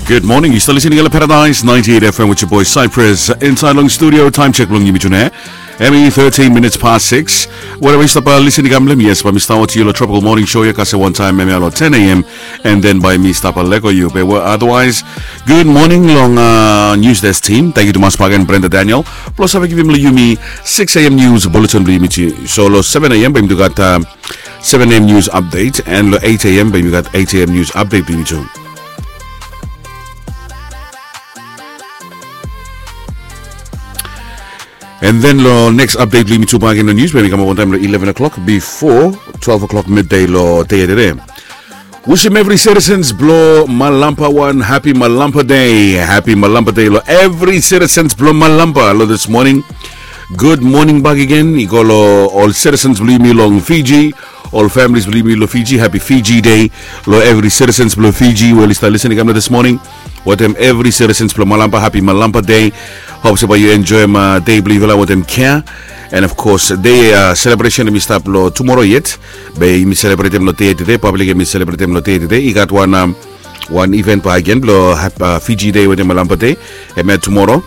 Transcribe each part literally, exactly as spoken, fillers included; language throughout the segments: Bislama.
Good morning. Yu stap listening long Paradise ninety-eight F M with your boy Cypress. Inside long studio, time check bilong yumi tune. Hemi thirteen minutes past six. Wherever yu stap listening kam long, yes, bae mi stap oti yu long Tropical Morning Show ya kasem wantaim hemia long ten a.m. And then bae mi stap lego yu. But otherwise, good morning long uh, news desk team. Thank you tumas bagen Brenda Daniel. Plus have givim long yumi six a.m. news bulletin bilong yumi tu. So long seven a.m. bae mi tu gat uh, seven a.m. news update, and long eight a.m. bae mi gat eight a.m. news update bilong yumi tu. And then long next update bilong yumi tu bagen long news bae mi kamap wantaim long eleven o'clock before twelve o'clock midday long day today. Wishim every citizens bilong Malampa wan happy Malampa day. Happy Malampa day long every citizens bilong Malampa long this morning. Good morning back again. I go long ol citizens bilong yumi long Fiji, ol families bilong yumi long Fiji. Happy Fiji day long every citizens bilong Fiji we oli stap listening kam long this morning. Wetem every citizens bilong Malampa, happy Malampa day. Hope se bae yu enjoyim uh, day bilong yufala wetem care. And of course day uh, celebration hemi stap long tomorrow yet. Be yumi celebratem long day today, public hemi celebratem long day today. I gat wan um, wan event bagen bilong uh, Fiji day wetem Malampa day. Hemia tomorrow.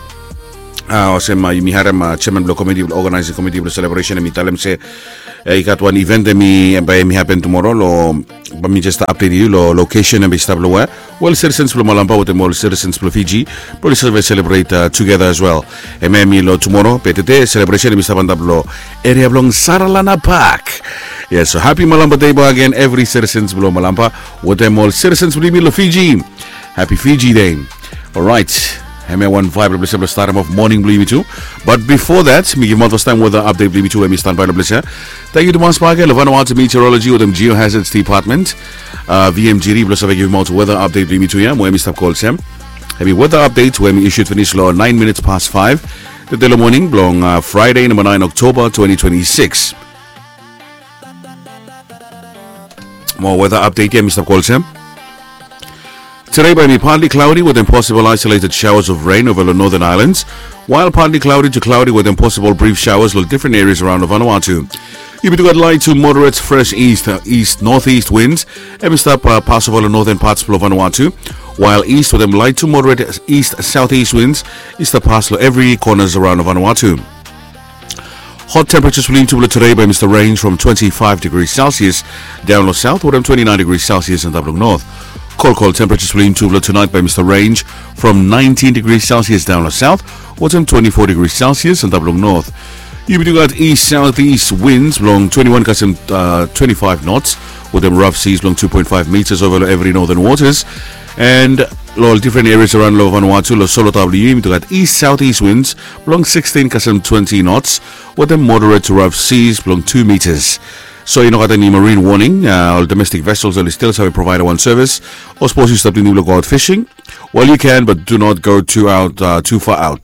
Uh, olsem uh, yumi harem uh, chairman bilong committee bilong organizing committee bilong celebration hemi talem se uh, i gat wan event hemi bae hemi happen tomorrow long bae mi just update yu long location hemi stap long we. Well, citizens bilong Malampa wetem ol citizens bilong Fiji probably save celebrate uh, together as well. Hemia hemi long tomorrow be today celebration hemi stap antap long area bilong Saralana Park. Yes, so happy Malampa day bagen every citizens bilong Malampa wetem ol citizens bilong yumi long Fiji. Happy Fiji day. Alright. Hemia wan vibe bilong starim of morning bilong yumi tu. But before that mi givim out first time weather update bilong yumi tu hemi standby long ples ya. Thank you tumas bagen long Vanuatu Meteorology wetem Geohazards Department. Uh, V M G D bilong save givim out weather update bilong yumi tu ya mo hemi stap call sem. Hemi weather update we hemi issued finis long nine minutes past five. Today long morning bilong uh, Friday number nine October twenty twenty-six. Mo weather update ya mi stap call sem. Today bae mi partly cloudy with possible isolated showers of rain over the northern islands, while partly cloudy to cloudy with possible brief showers long different areas around Vanuatu. Yumi tu gat light to moderate fresh east, uh, east northeast winds hemi stap uh, pass over long northern parts of Vanuatu, while east with light to moderate east southeast winds i stap pass long every corners around Vanuatu. Hot temperatures bilong yumi tu bilong today bae mi stap range from twenty-five degrees Celsius down long south wetem twenty-nine degrees Celsius antap long north. Cold, cold temperatures bilong yumi tu bilong tonight bae mi stap range from nineteen degrees Celsius down long south wetem twenty-four degrees Celsius antap long north. Yumi tu gat east southeast winds bilong twenty-one kasem uh, twenty-five knots wetem rough seas bilong two point five meters over long every northern waters. And long different areas around long Vanuatu long Solotau bilong yumi tu gat east southeast winds bilong sixteen kasem twenty knots wetem moderate to rough seas bilong two meters. So i no gat any marine warning. Uh, ol domestic vessels oli still save provide one service. O suppose yu stap tingting bilong go out fishing, well, you can, but do not go too out uh, too far out.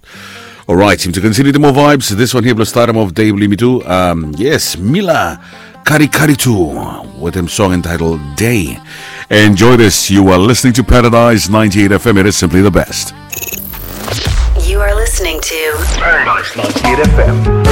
Alright, yumi tu continue the more vibes. This one here bilong starim of day bilong yumi tu. Um, yes, Mila Karikaritu wetem song entitled Day. Enjoy this. You are listening to Paradise ninety-eight F M. It is simply the best. You are listening to Paradise ninety-eight F M.